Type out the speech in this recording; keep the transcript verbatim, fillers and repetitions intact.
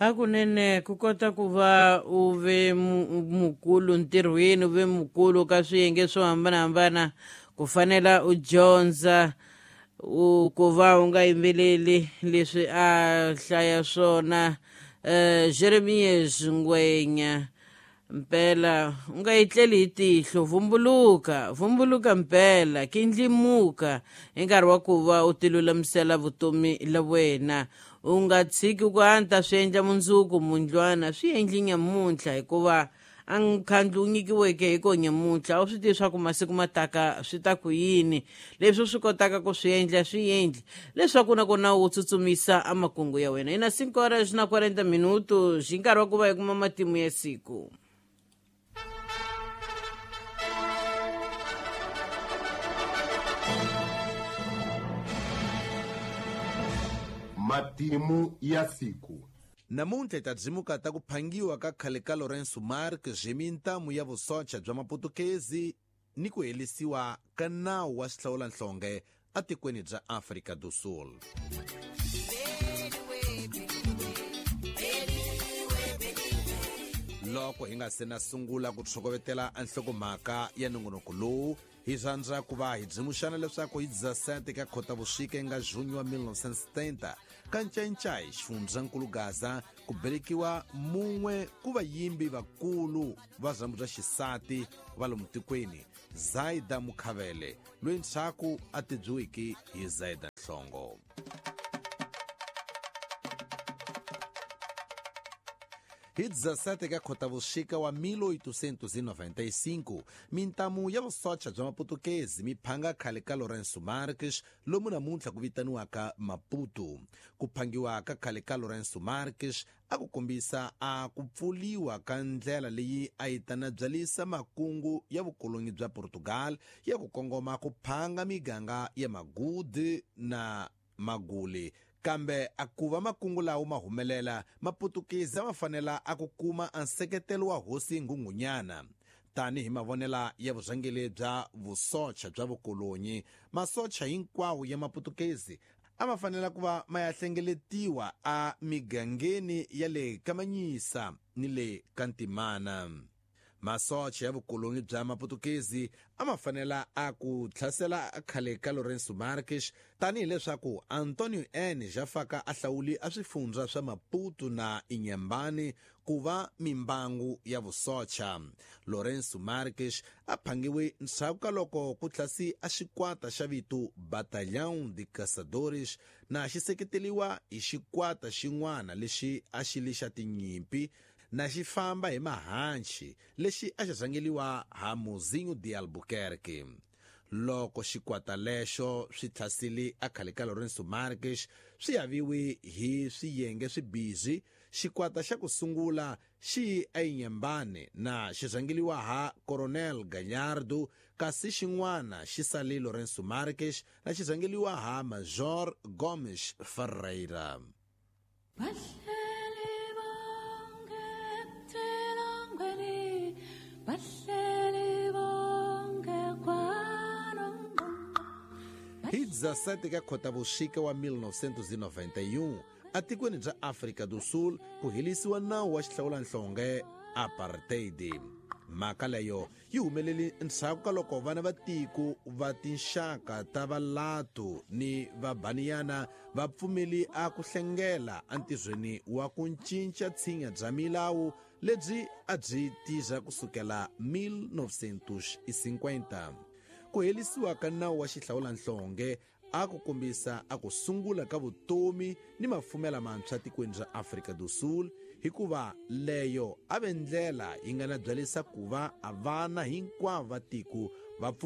Hakunene ku kota ku va u ve mukulu ntirhweni, u ve mukulu ka swiyenge swo hambanahambana, ku fanela u dyondza u ku va u nga yimbeleli leswi a hlaya swona. um Jeremias Ngwenya, mpela u nga etleli hi tihlo, vumbuluka vumbuluka mpela, kindlimuka hi nkarhi wa ku va u tilulamisela vutomi la wena. U nga tshiki ku anta swi endla mundzuku mundlwana, swi endli nyamuntlha, hikuva a nkhandlu wu nyikiweke hi ko nyamuntlha a wu swi tivi swa ku masiku ma taka swi ta ku yini. Leswi u swi kotaka ku swi endla swi endli, leswaku na kona wu tsutsumisa a makungu ya wena. Ina cinco horas na quarenta minutos, hi nkarhi wa ku va hi kuma matimu ya siku. Matimu ya siku. Namuntlha hi ta byimuka ta ku phangiwa ka khale ka Lourenço Marques hi mintamu ya vusocha bya Maputukezi ni ku helisiwa ka nawu wa xihlawulanhlonge atikweni bya Afrika do Sul. Loko hi nga se na sungula ku tshokovetela nhlokomhaka ya nongonoko lowu, hi rhandza ku va hi byimuxana leswaku hi dezessete ka Khotavuxika nga junho wa mil novecentos e setenta ka Ncancai, xifundzankulu Gaza, ku belekiwa mun'we ku vayimbi vakulu va zambu bya xisati va lomu tikweni, Zaida Mukhavele, loyi ndzhaku a tibyuwiki hi Zaida Nhlongo. Hi dezessete ka Khotavuxika wa mil oitocentos e noventa e cinco, mintamu ya vusocha bya Maputukezi mi phanga khale ka Lourenço Marques, lomu namuntlha ku vitaniwaka Maputo. Ku phangiwa ka khale ka Lourenço Marques a ku kombisa a ku pfuliwa ka ndlela leyi a yi ta nabyalisa makungu ya vukolonyi bya Portugal ya ku kongoma ku phanga miganga ya Magudi na Maguli. Kambe a ku va makungu lawo ma humelela, Maputukezi a ma fanela a ku kuma a nseketelo wa hosi Nghunghunyana. Tanihi mavonela ya vurhangeri bya vusocha bya vukolonyi, masocha hinkwawo ya Maputukezi a ma fanela ku va ma ya hlengeletiwa a migangeni ya le Kamanyisa ni le Kantimana. Masocha ya vukolonyi bya Maputukezi a ma fanela a ku tlhasela khale ka Lourenço Marques, tanihi leswaku Antonio N. Jafaka a hlawuli a swifundza swa Maputo na Inhambane ku va mimbangu ya vusocha. Lourenço Marques a phangiwe ndzhaku ka loko ku tlhasi a xikwata xa vito Batalhão de Caçadores na xi seketeriwa hi xikwata xin'wana lexi a xi li xa tinyimpi na xi famba hi mahanchi lexi a xi rhangeliwa ha Mozinho de Albuquerque. Loko xikwata lexo swi tlhasile a khale ka Lourenço Marques, swi aviwe hi swiyenge swimbirhi. Xikwata xa ku sungula xi eInhambane na xi rhangeliwa ha Coronel Galhardo, kasi xin'wana xi sale Lourenço Marques na xi rhangeliwa ha Major Gomes Ferreira. Hi dezessete ka Khotavuxika wa mil novecentos e noventa e um, atikweni bya Afrika do Sul ku helisiwa nawu wa xihlawulanhlonge apartheid. Mhaka leyo yi humelele ndzhaku ka loko vana va tiko va tinxaka ta Valatu ni Vabaniyana va pfumeli a ku hlengela entirhweni wa ku cinca tshinya bya milawu lebyi a byi tirha kusukela mil novecentos e cinquenta. Ku helisiwa ka nawu wa xihlawulanhlonge a ku kombisa a ku sungula ka vutomi ni mafumela mantshwa tikweni ra Afrika do Sul, hikuva leyo a ve ndlela yi nga na byalisa ku va a vana hinkwavo va tiko va pfumela